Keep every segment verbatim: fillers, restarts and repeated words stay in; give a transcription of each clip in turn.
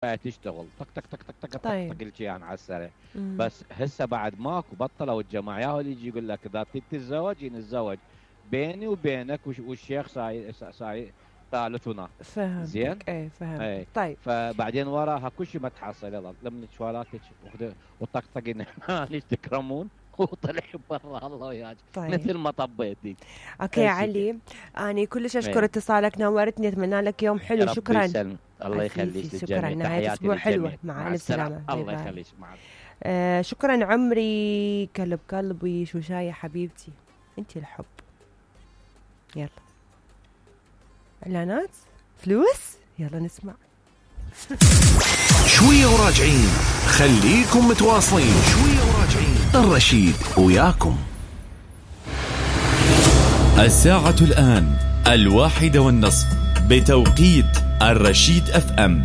تشتغل طق طق طق طق طق طق طيب. طق الشيء يعني على السريع. مم. بس هسه بعد ماكو بطلوا الجماعه، ياهو اللي يجي يقول لك اذا تريد تتزوج نتزوج بيني وبينك وش- والشيخ ساي ساي ثالثنا. فهمت. زين؟ ايه فهمت. اي طيب فبعدين وراها كل شيء ما تحصل، يلا لما شوالاتك وخذ وطقطقين ليش تكرمون وطلع برا الله وياك. طيب. مثل ما طبيتي. اوكي هالشي علي، اني كلش اشكر إيه. اتصالك، نورتني، اتمنى لك يوم حلو. ربي شكرا. يسلمك. الله يخليك عزيزي، للجميع. شكرا. نهاية تحياتي أسبوع حلوة. للجميع. مع مع ألف السلامة. سلامة. باي الله باي. يخليك. مع آه شكرا عمري، كلب قلبي، شوشاية حبيبتي، انتي الحب. يلا اعلانات فلوس، يلا نسمع. شوية وراجعين، خليكم متواصلين. شوية وراجعين، الرشيد وياكم. الساعة الآن الواحدة والنصف بتوقيت الرشيد اف ام.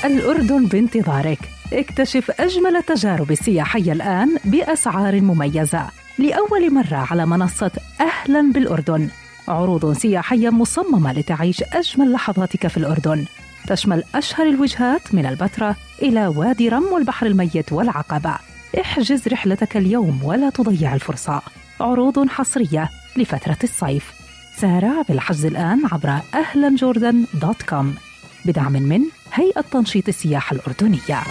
الأردن بانتظارك. اكتشف أجمل التجارب السياحية الآن بأسعار مميزة لأول مرة على منصة أهلاً بالأردن. عروض سياحية مصممة لتعيش أجمل لحظاتك في الأردن، تشمل أشهر الوجهات من البتراء إلى وادي رم والبحر الميت والعقبة. احجز رحلتك اليوم ولا تضيع الفرصة. عروض حصرية لفترة الصيف. سارع بالحجز الآن عبر أهلاً جوردن دوت كوم بدعم من هيئة تنشيط السياحة الأردنية.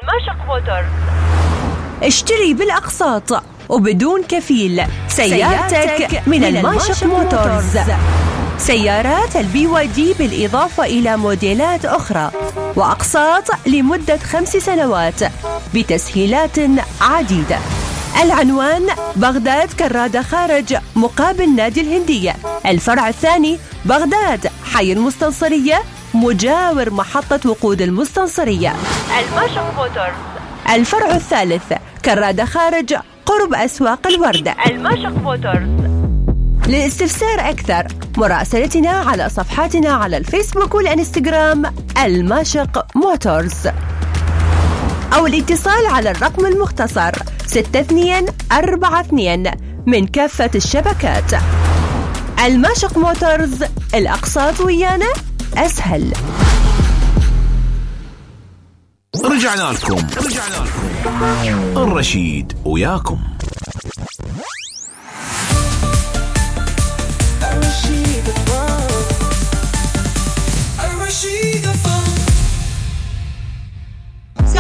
الماشق موتورز. اشتري بالأقساط وبدون كفيل سيارتك من الماشق موتورز. سيارات البي واي دي بالإضافة إلى موديلات أخرى وأقساط لمدة خمس سنوات بتسهيلات عديدة. العنوان بغداد كرادة خارج مقابل نادي الهندية. الفرع الثاني بغداد حي المستنصرية مجاور محطة وقود المستنصرية. الماشق موتورز. الفرع الثالث كرادة خارج قرب أسواق الوردة. الماشق موتورز. للاستفسار أكثر مراسلتنا على صفحاتنا على الفيسبوك والإنستغرام الماشق موتورز، أو الاتصال على الرقم المختصر ستة اثنين أربعة اثنين من كافة الشبكات. الماشق موتورز، الأقساط ويانا أسهل. رجعنا لكم. رجعنا لكم الرشيد وياكم.